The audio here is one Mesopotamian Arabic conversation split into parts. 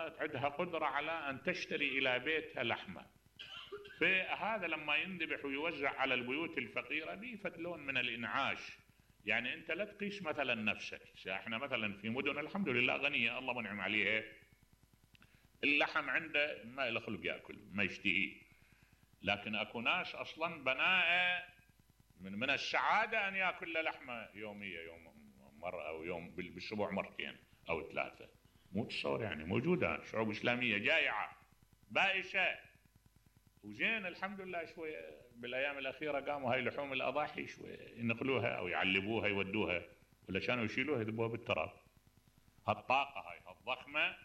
صارت عندها قدرة على أن تشتري إلى بيتها لحمة. فهذا لما ينذبح ويوزع على البيوت الفقيرة بيفت لون من الإنعاش. يعني أنت لا تقيس مثلا نفسك. احنا مثلا في مدن الحمد لله غنية الله منعم عليها، اللحم عنده ما له خلق يأكل ما يشتهيه، لكن أكو ناس أصلا بناء من السعادة أن يأكل لحمة يومية، يوم مرة أو يوم بالأسبوع مرتين أو ثلاثة. مو تصور يعني موجودة شعوب إسلامية جائعة بائسة وزين الحمد لله شوية بالأيام الأخيرة قاموا هاي لحوم الأضاحي شوية ينقلوها أو يعلبوها يودوها، ولا كانوا يشيلوها يذبوها بالتراب. هالطاقة هاي الضخمة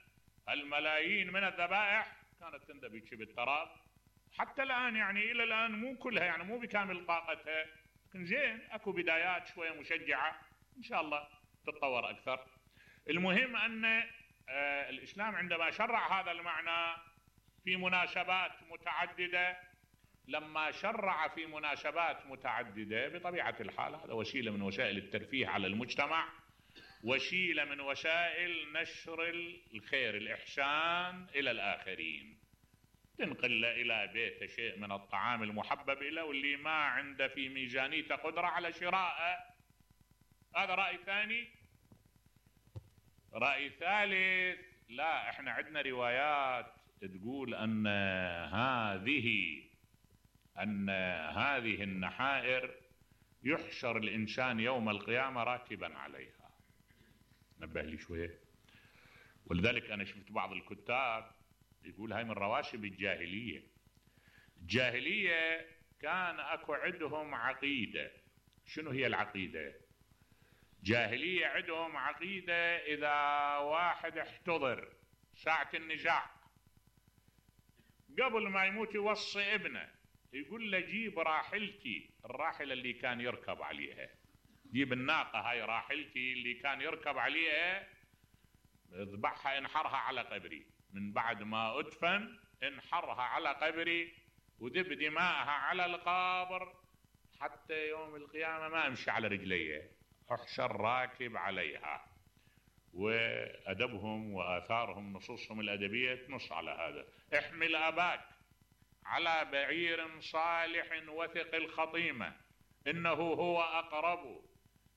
الملايين من الذبائح كانت تندبج بالتراب. حتى الآن يعني إلى الآن مو كلها يعني مو بكامل طاقتها، لكن زين أكو بدايات شوية مشجعة إن شاء الله تتطور أكثر. المهم أن الإسلام عندما شرع هذا المعنى في مناسبات متعددة، لما شرع في مناسبات متعددة بطبيعة الحال هذا وسيلة من وسائل الترفيه على المجتمع، وسيلة من وسائل نشر الخير الإحسان إلى الآخرين، تنقل إلى بيته شيء من الطعام المحبب إليه واللي ما عنده في ميزانيته قدرة على شرائه. هذا رأي ثاني. رأي ثالث، لا احنا عندنا روايات تقول أن هذه النحائر يحشر الإنسان يوم القيامة راكبا عليها. نبه لي شوية. ولذلك أنا شفت بعض الكتاب يقول هاي من رواشب الجاهلية. الجاهلية كان أكو عندهم عقيدة. شنو هي العقيدة؟ جاهلية عندهم عقيدة إذا واحد احتضر ساعة النزاع قبل ما يموت يوصي ابنه يقول له جيب راحلتي، الراحلة اللي كان يركب عليها، جيب الناقة هاي راحلتي اللي كان يركب عليها، اذبحها انحرها على قبري، من بعد ما ادفن انحرها على قبري وذب دماءها على القبر حتى يوم القيامة ما امشي على رجليه، احشر راكب عليها. وأدبهم وآثارهم نصوصهم الأدبية تنص على هذا. احمل أباك على بعير صالح وثق الخطيمة إنه هو أقرب،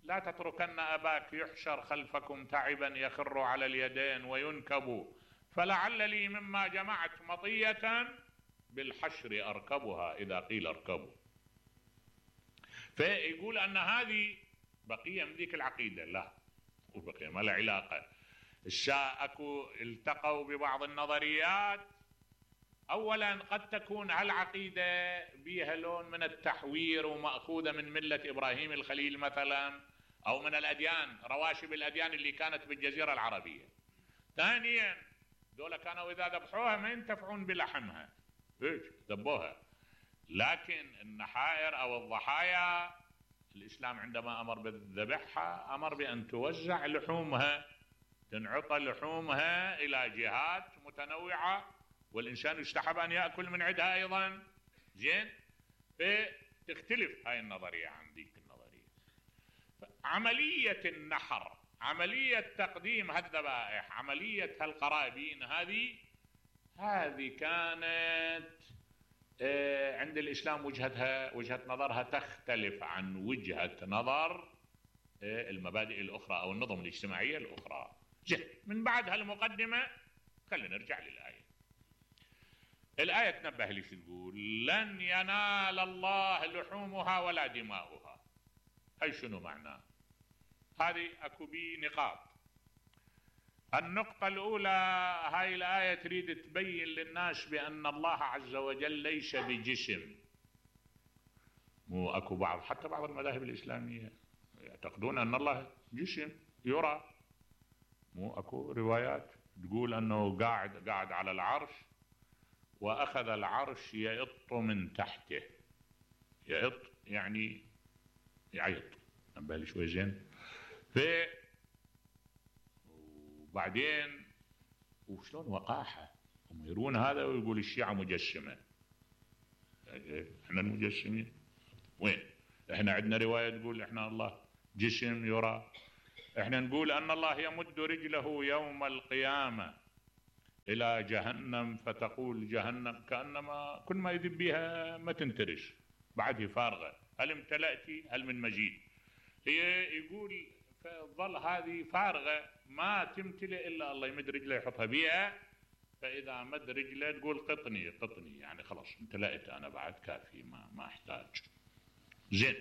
لا تتركن أباك يحشر خلفكم تعبا يخر على اليدين وينكب، فلعل لي مما جمعت مطية بالحشر أركبها إذا قيل اركبوا. فيقول أن هذه بقية من ذيك العقيدة، لا وبقية ما له علاقة. أكو التقوا ببعض النظريات. أولا قد تكون هالعقيدة بيها لون من التحوير ومأخوذة من ملة إبراهيم الخليل مثلا، أو من الأديان رواشب الأديان اللي كانت بالجزيرة العربية. ثانيا دول كانوا إذا ذبحوها ما ينتفعون بلحمها، ذبوها، لكن النحائر أو الضحايا الإسلام عندما أمر بذبحها أمر بأن توزع لحومها، تنعطى لحومها إلى جهات متنوعة، والإنسان يستحب أن يأكل من عندها أيضا. زين، فتختلف هاي النظرية عن ذيك النظرية. عملية النحر، عملية تقديم هالذبائح، عملية هالقرابين، هذه كانت عند الإسلام وجهة نظرها تختلف عن وجهة نظر المبادئ الأخرى أو النظم الاجتماعية الأخرى. من بعد هالمقدمة خلينا نرجع للآية. الآية تنبه لي شو تقول؟ لن ينال الله لحومها ولا دماؤها. هاي شنو معناه؟ هذه أكو بي نقاط. النقطة الأولى، هاي الآية تريد تبين للناس بأن الله عز وجل ليس بجسم. مو أكو بعض حتى بعض المذاهب الإسلامية يعتقدون أن الله جسم يرى. مو أكو روايات تقول أنه قاعد على العرش وأخذ العرش يئط من تحته. يئط يعني يعيط. نبالي شوي زين. وبعدين وشلون وقاحة هم يرون هذا ويقول الشيعة مجسمة. احنا المجسمين وين؟ احنا عندنا رواية تقول احنا الله جسم يرى. احنا نقول ان الله يمد رجله يوم القيامة إلى جهنم فتقول جهنم كأنما كل ما يذب بها ما تنترش، بعدها فارغة، هل امتلأت هل من مزيد. هي يقول فظل هذه فارغة ما تمتلئ إلا الله يمد رجله يحطها بيها، فإذا مد رجله تقول قطني قطني، يعني خلاص امتلأت أنا بعد كافي ما أحتاج. زين،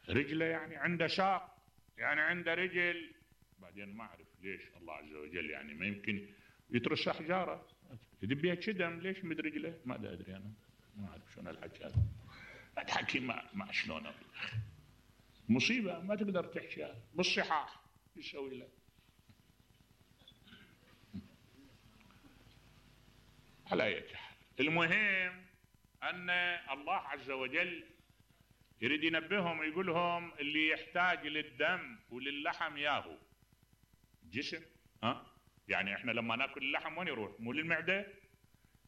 رجله يعني عنده شاق، يعني عنده رجل، بعدين ما أعرف ليش الله عز وجل يعني ما يمكن يترس أحجاره يدب بها كدم، ليش مد رجله؟ ما أدري أنا، ما أعرف شلون الحكي هذا، الحكي ما شلونه، مصيبة ما تقدر تحكيها بالصحاح، يسوي له. على أي حال، المهم أن الله عز وجل يريد ينبههم، يقول لهم اللي يحتاج للدم وللحم ياهو جسم، يعني احنا لما ناكل اللحم وين يروح؟ مو للمعدة؟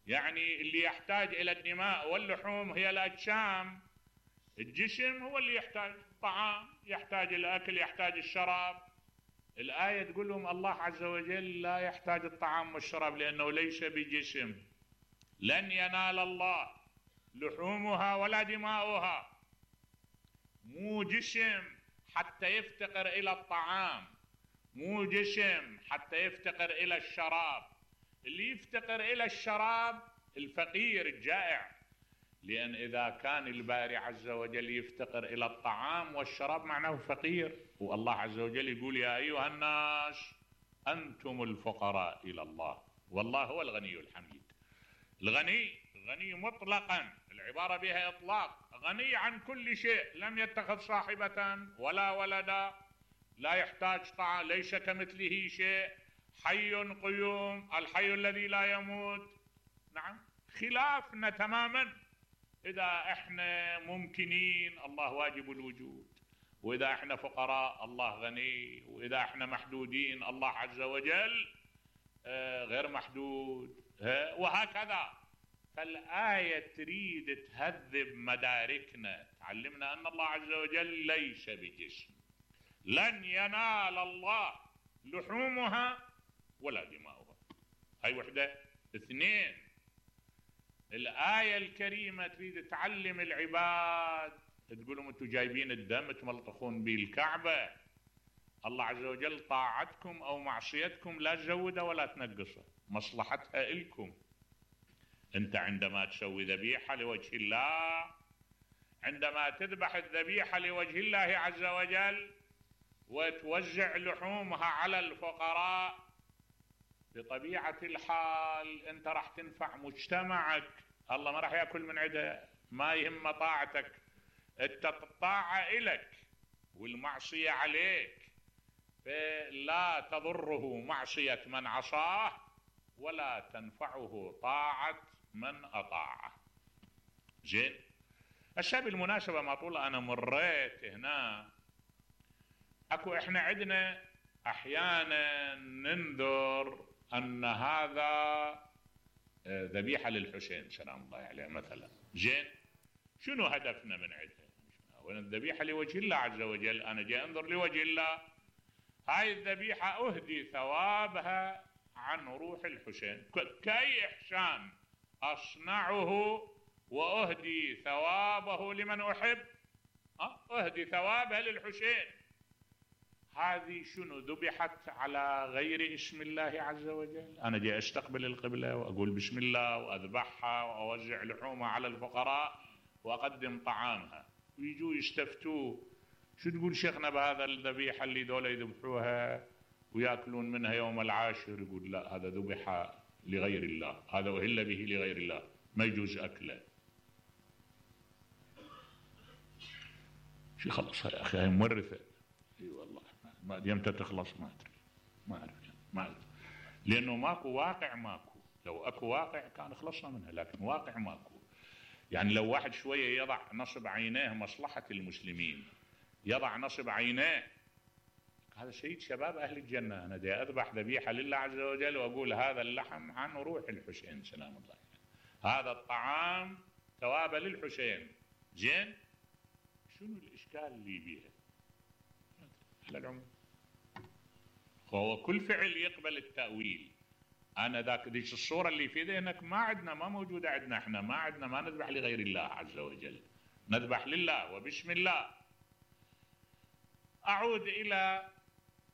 يعني اللي يحتاج الى الدماء واللحوم هي الاجسام، الجسم هو اللي يحتاج طعام، يحتاج الاكل، يحتاج الشراب. الآية تقول لهم الله عز وجل لا يحتاج الطعام والشراب لأنه ليس بجسم، لن ينال الله لحومها ولا دماؤها، مو جسم حتى يفتقر إلى الطعام، مو جسم حتى يفتقر إلى الشراب. اللي يفتقر إلى الشراب الفقير الجائع، لأن إذا كان الباري عز وجل يفتقر إلى الطعام والشراب معناه فقير، والله عز وجل يقول يا أيها الناس أنتم الفقراء إلى الله والله هو الغني الحميد. الغني مطلقا، العبارة بها إطلاق، غني عن كل شيء، لم يتخذ صاحبة ولا ولدا، لا يحتاج طعام، ليس كمثله شيء، حي قيوم، الحي الذي لا يموت. نعم، خلافنا تماما. إذا احنا ممكنين الله واجب الوجود، وإذا احنا فقراء الله غني، وإذا احنا محدودين الله عز وجل غير محدود، وهكذا. فالآية تريد تهذب مداركنا، تعلمنا أن الله عز وجل ليس بجسم، لن ينال الله لحومها ولا دماؤها، هاي وحدة. اثنين، الآية الكريمة تريد تعلم العباد، تقول لهم انتم جايبين الدم تملطخون به الكعبة، الله عز وجل طاعتكم أو معصيتكم لا تزوده ولا تنقصه، مصلحتها إلكم. أنت عندما تسوي ذبيحة لوجه الله، عندما تذبح الذبيحة لوجه الله عز وجل وتوزع لحومها على الفقراء، بطبيعة الحال أنت راح تنفع مجتمعك، الله ما راح يأكل من عده، ما يهم طاعتك، أنت الطاعة إلك والمعصية عليك، فلا تضره معصية من عصاه ولا تنفعه طاعة من أطاعه. زين، هسه بالمناسبة ما طول أنا مريت هنا، أكو إحنا عندنا أحيانا ننذر أن هذا ذبيحة للحسين سلام الله عليه مثلا. زين، شنو هدفنا من عندها؟ الذبيحة لوجه الله عز وجل، أنا جاي أنظر لوجه الله، هاي الذبيحة أهدي ثوابها عن روح الحسين، كأي إحسان أصنعه وأهدي ثوابه لمن أحب، أهدي ثوابها للحسين. هذه شنو؟ ذبحت على غير اسم الله عز وجل، أنا جاي أستقبل القبلة وأقول بسم الله وأذبحها وأوزع لحومها على الفقراء وأقدم طعامها، ويجوا يستفتوه شو تقول شيخنا بهذا الذبيحة اللي دولة يذبحوها ويأكلون منها يوم العاشر؟ يقول لا، هذا ذبح لغير الله، هذا أهل به لغير الله، ما يجوز أكله. شو خلص يا أخي، هاي مورثة. اي والله ما يمتى تخلص ما أدري، ما أعرف لأنه ماكو واقع، ماكو، لو أكو واقع كان خلصنا منها، لكن واقع ماكو. يعني لو واحد شوية يضع نصب عينيه مصلحة المسلمين، يضع نصب عينيه، هذا سيد شباب أهل الجنة، أنا دي أذبح ذبيحة لله عز وجل وأقول هذا اللحم عن روح الحسين سلام الله عليه، هذا الطعام ثوابا للحسين. زين، شنو الإشكال اللي بيها؟ على العموم هو كل فعل يقبل التأويل. أنا ذاك ديش الصورة اللي في ذهنك ما موجودة عندنا، احنا ما نذبح لغير الله عز وجل، نذبح لله وبسم الله. أعود إلى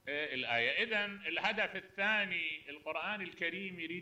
الآية. إذن الهدف الثاني، القرآن الكريم يريد